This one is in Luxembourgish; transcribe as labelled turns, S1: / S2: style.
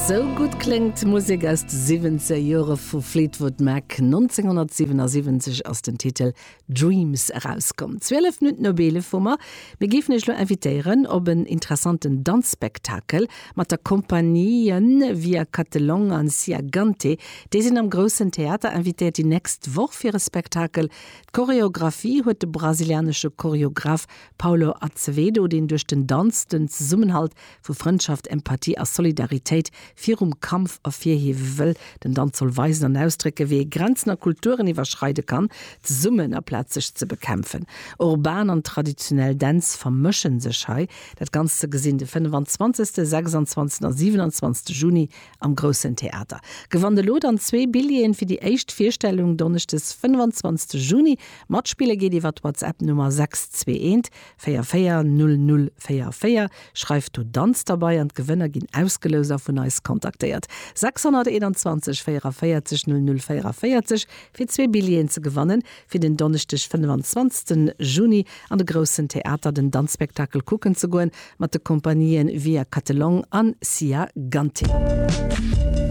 S1: Sou gutt kléngt d'Musek aus de siwwenzeger Jore vu Fleetwood Mac. 1977 ass den Titel Dreams erauskomm. 12 Minutten op 11 hu mer. Mir géifen Iech elo invitéieren op en interessanten Danzspektakel mat der Compagnie Via Catelong an Sia Gante. Déi sinn am Groussen Theater invitéiert déi nächst Woch fir e Spektakel. D'Choreographie huet de brasilianesche Choreograph Paulo Azevedo, deen duerch den Danz den Zesummenhalt vu Frëndschaft, Empathie a Solidaritéit virum Kampf ervirhiewe wëll. Den Danz soll weisen an ausdrécken, wéi ee Grenzen a Kulturen iwwerschreide kann, zesummen, aplaz sech ze bekämpfen. Urban an traditionell Dänz vermëschen sech hei. Dat Ganzt ze gesinn de 25., 26. a 27. Juni am Groussen Theater. Gewannt elo dann zwee Billjeeën fir déi éischt Virstellung donneschdes 25. Juni. Matspille geet iwwer d'WhatsApp Nummer 621 44 00 44. Schreift do Danz derbei an d'Gewënner ginn ausgeloust a vun eis kontaktéiert. 621 44 00 44 fir zwee Billjeeën ze gewannen fir den Donneschdeg 25 Juni an de Groussen Theater den Danzspektakel kucken ze goen mat de Kompanien Via Catelong an Sia Gante.